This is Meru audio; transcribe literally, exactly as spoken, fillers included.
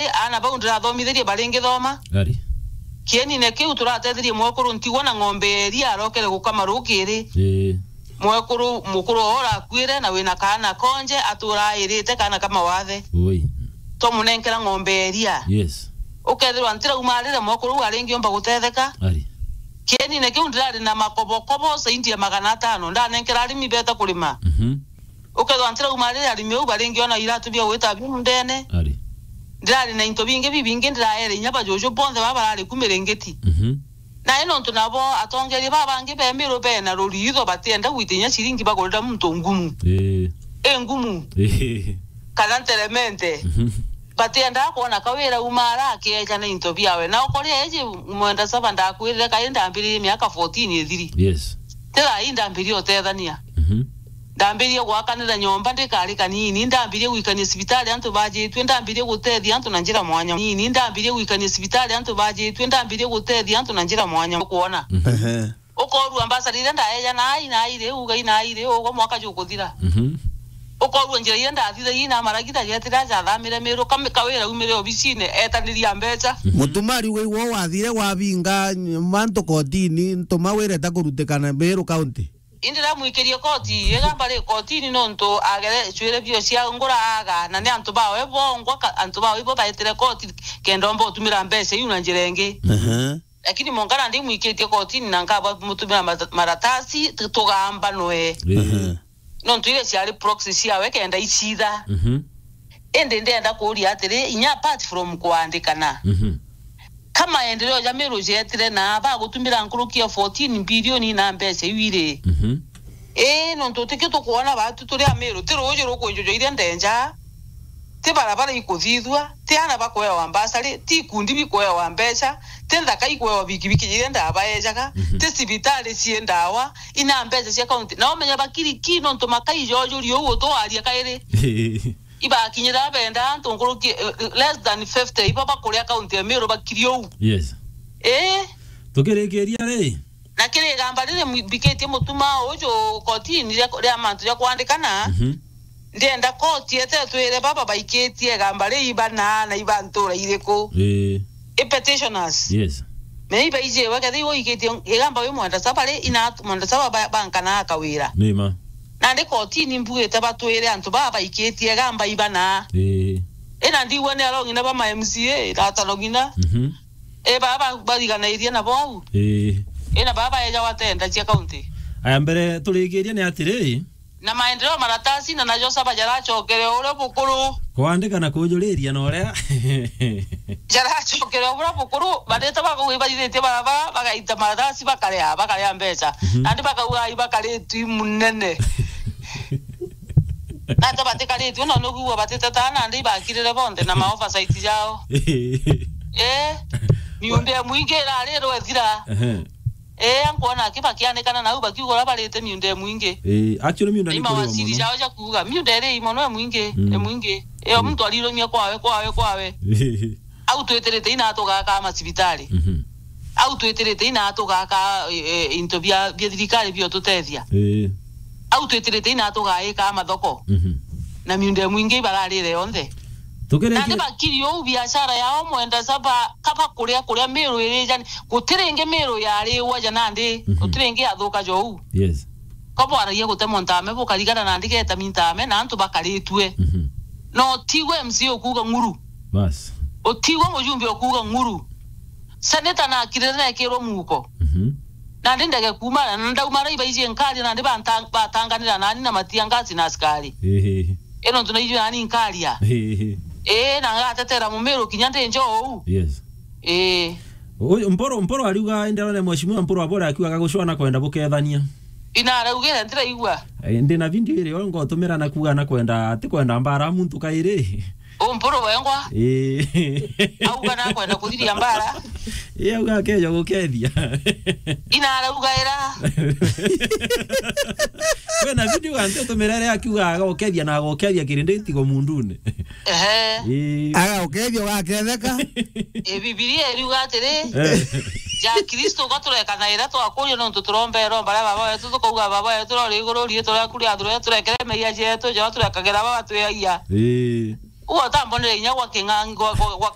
aana bau ndirathomithirie baringithoma. Ari. Kienine kiu turatethirie mwekuru ntigwa na ng'ombe ya iria arokere gukama rukiri. Ii. Mwekuru mukuru oo urakuire na wina kaana konje atura airite kaana ka mawathe. Ui. Twamunenkera ng'ombe ya iria. Yes. Ukethirwa ntirauma arire mwekuru uu aringiumba gutetheka. Ari. Kienine kiu ndirari na makobokobo saindi ya magana atano ndanenkera arimi beta kurima. Mhm. Ukethwa ntirauma riria arimi au baringiona iratu bia gwita biu ndene. Ari. Ndirari na into bingi bibingi ndiraere inya bajuju bonthe baba barari ku miringiti. Mhm. Na ino ntu nabo atongeria baba bangi be Miru bena ruriitho batienda gwita inya ciringi bagurira muntu ngumu. Ii. I ngumu. Ii. Kana nteremente. Mhm. Batiendaa kwona kawira uma ara akieja na into biawe. Na ukoria eji mwenda saba ndakwirire kai ndambiririe miaka fourteen ithiri. Yes. Tira ai ndambirie utethania. Mhm. Ndambirie gwakanira nyomba ndikari kanini, ndambirie gwikania cibitari antu bajitue, ndambirie gutethia antu na njira mwanya. Nini ndambirie gwikania cibitari antu bajitue, ndambirie gutethia antu na njira mwanya. Kuona. Mhm. Ehe. Ukorua mbasari iria ndaeja na ai na ai riu, ugai na ai riu, ugo mwaka jukuthira. Mhm. Ukorua njira iria ndathithagia na maragita getira jathamire Miru, kami-, kawira umire obicine, etaniria mbeca. Mhm. Mutumari ugwe iwe wathire wabinga mantu kotini, ntuma wireta kurutikana Miru County. Indi ramwikirie koti, igamba ri kotini nontu agere cwire bio cia ngura aga, na ni antu bawe bongwa ka-, antu bawe ibo baetire koti kenda omba utumira mbeca iu na njira ingi. Ehe. Lakini monka nandi mwikitie kotini na nkaba mutumira mata-, maratasi, tu-, tugamba nwe. Ii. Ehe. Nontu iria ciari proxy ciawe kenda icitha. Mhm. Indi ndenda kuuria atiri, inya apart from kuandikana, mhm, ka maendeleo ja Miru jetire na bagutumira nkuruki ya fourteen billion na mbeca iu iri? Mhm. Ii, nontu tikio tukwona batu turi a Miru, ti ruuji rukwinjujwa iria ndenja, ti barabara ikuthithua, ti aana bakwewa mbasari, ti ikundi bikwewa mbeca, ti nthaka ikwewa bikibiki iria ndabaejaga, mhm, ti cibitari cii ndawa, ina mbeca cia kaunti. Na umenya bakiri ki nontu makai jojurie uu utwaria kairi. Ibakinyira benda antu nkuruki, eh, less than fifty iba bakuria kaunti ya Miru bakiri uu. Yes. Ii. Tukirikiria ri? Na kiri igamba riri mwi-, mbikitie mutuma uju kotini ria, ria mantu ja kwandikana, mhm, ndienda koti ete twire baba baikitie igamba ri ibana na iba ntura iriku? Ii. I petitioners. Yes. Me iba ijiwe, kethira iwe ikitie igamba wi mwenda saba ri, ina at-, mwenda saba ba-, bankana akawira. Ni ma. Nandi kotini mbugite batwire antu baba baikitie igamba ibana. Ii. Ina ndigua ni arong'ina ba ma M C A, na atarong'ina. Mhm. E, baba bariganairie nabo au. Ii. Ina baba eja watenda cia kaunti. Aya, mbere turikirie ni atiri, na maendeleo maratasi na najo saba jaracokere uria bukuru. Kwandika na kujuriria na uria. Jaracokere uria bukuru, barite bakauga ibarithitie barabara, bagaita maratasi, bakarea, bakarea mbeca. Mhm. Nandi bakauga ibakaritwi munene. Nata batikaritwe, no nugua batiteta nandi ibakirire bonthe na ma oversight jao. Eh, miunda ya mwingi irari irwethira. Ehe. Eh, ankwona aki bakianikana nau bakiuga uria barite miunda ya mwingi. Eh, actually miunda ni mawaziri jao ja kuuga, miunda iri imo no ya mwingi, mm, ya mwingi. Eh, mm, muntu arirumia kwawe, kwawe, kwawe. Au twitirite ina tugaka macibitari. Mhm. Au twitirite ina tugaka, eh, eh, into bia, bia thirikari bio tutethia. Eh. Au twitirite ina tugaika mathoko. Mhm. Na miunda mwingi ibararire yonthe. Tukireke- Nandi bakiri uu biashara yao mwenda saba kaba kuria kuria Miru irijani. Gutiringi Miru yariwa ja nandi. Mhm. Gutiringi athuka jou. Yes. Kabwaragia gutemwa ntame bukarigana nandi geta mintame na antu bakaritue. Mhm. No tigwe M C A ukuga ng'uru. Bas. Utigwe mujumbe ukuga ng'uru. Seneta na akirire na ekirwo muko. Mhm. Nandi ndege kuuma, na ndauma ara ibaiji nkari, nandi banta-, batanganira nani na matia ngasi na askari. Ehe. Ino ntu naijwe nani nkaria. Ehe. Ee, na ngatetera mumiru kinya ndi njo uu. Yes. Ee. Uyu Mpuru, Mpuru ariuga, indi arone mheshimiwa Mpuru abore akiuga gagucwa na kwenda bukethania. Ina araugire, ndiraigua. Eh, ndi na video irio ngotumira na kuuga na kwenda, ati kwenda mbara muntu kairi. Umpuru wengwa. Ii. Auga nakwenda kuthiria mbara. Ii, auga akeja gukethia. Ina arauga ira. Kwina video antu tumira ria akiuga agokethia na agokethia kirindi tigo mundune. Ehe. Ii. Agokethia ugaketheka. E, Bibilia iriuga atiri, eh, ja Kristo uga tureka na ira twakuria nontu turomba iromba ria Baba wetu, tukauga, "Baba wetu uri iguru, riitwa riaku riathurwe, turekere meeyia jetu, ja turekagera baba tweeyia." Ii. Uo utambonere inya gwa king'ang'i, gwa, gwa, gwa